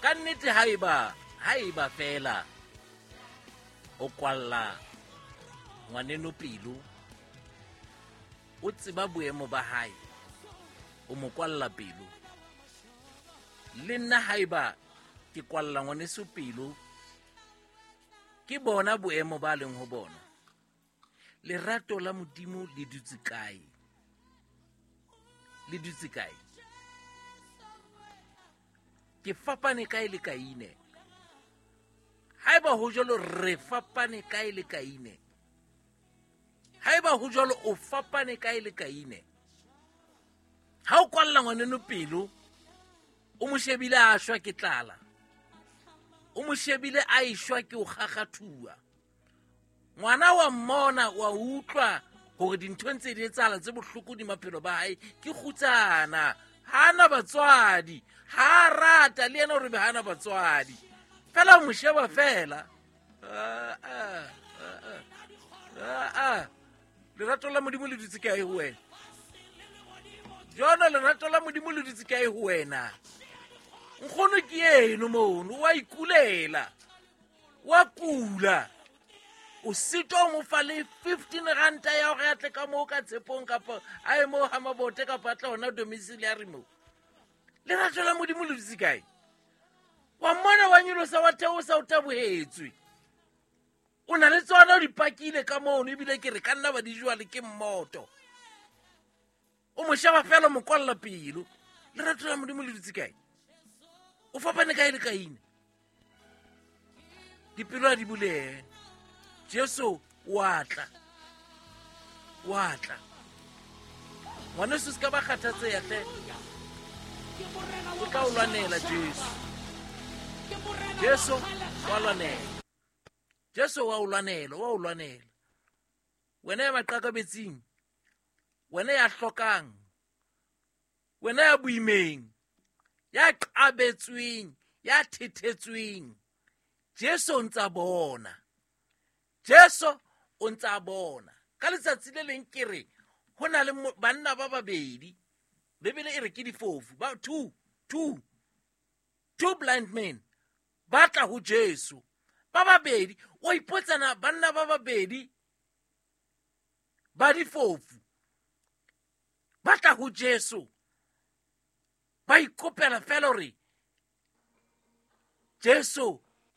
Ka nnete haeba fela o kwalla ngwaneno pelo, o tseba boemo ba hae, o mo kwalla pelo. Le nna haeba ke kwalla ngwaneso pelo, ke bona boemo ba leng ho bona. Lerato la Modimo le dutse kae? Le dutse kae? Ke fapane kae le Kaine? Haeba ho jwalo, re fapane kae le Kaine? Haeba ho jwalo, o fapane kae le Kaine? Ha o kwalla ngwaneno pelo, o mo shebile a shwa ke tlala, o mo shebile a eshwa ke o kgakgathuwa. Ngwana wa mmona, wa utlwa hore dintho ntse di etsahala tse bohloko di maphelo ba hae, ke kgutsana, ha ana batswadi, ha a rata le yena hore be ha ana batswadi. Fela o mo sheba fela. Lerato la Modimo le dutse kae ho wena? Jona, lerato la Modimo le dutse kae ho wena? Nkgono ke eno mono, wa ikulela, wa kula. O sitwa o mo fa le 15 ranta ya hore a tle ka moo ka tshepong, kapa a ye moo ha Mabote, kapa a tle hona domiciliary moo. Lerato la Modimo le dutse kae? Wa mmona wa nyolosa, wa theosa, o tabohetswe. O na le tsona, o di pakile ka mono, ebile ke re ka nna ba di jwale ke mmoto. O mo sheba fela, o mo kwalla pelo. Lerato la Modimo le dutse kae? O fapane kae le Kaine? Dipelo a di bulehe. Jesu wa tla, wa tla. Ngwaneso, se ka ba kgathatseha hle, o tla o lwanela Jesu. Jesu wa lwanela, Jesu wa o lwanela, wa o lwanela. Wena ya maqakabetsing, wena ya hlokang, wena ya boimeng, ya qabetsweng, ya thethetsweng, Jesu o ntsa bona. Jesu o ntsa bona. Ka letsatsi le leng ke re ho na le banna ba babedi, Bibele e re ke difofu, ba two blind men ba tla ho Jesu ba babedi. O ipotsana, banna ba babedi ba difofu ba tla ho Jesu, ba ikopela fela hore Jesu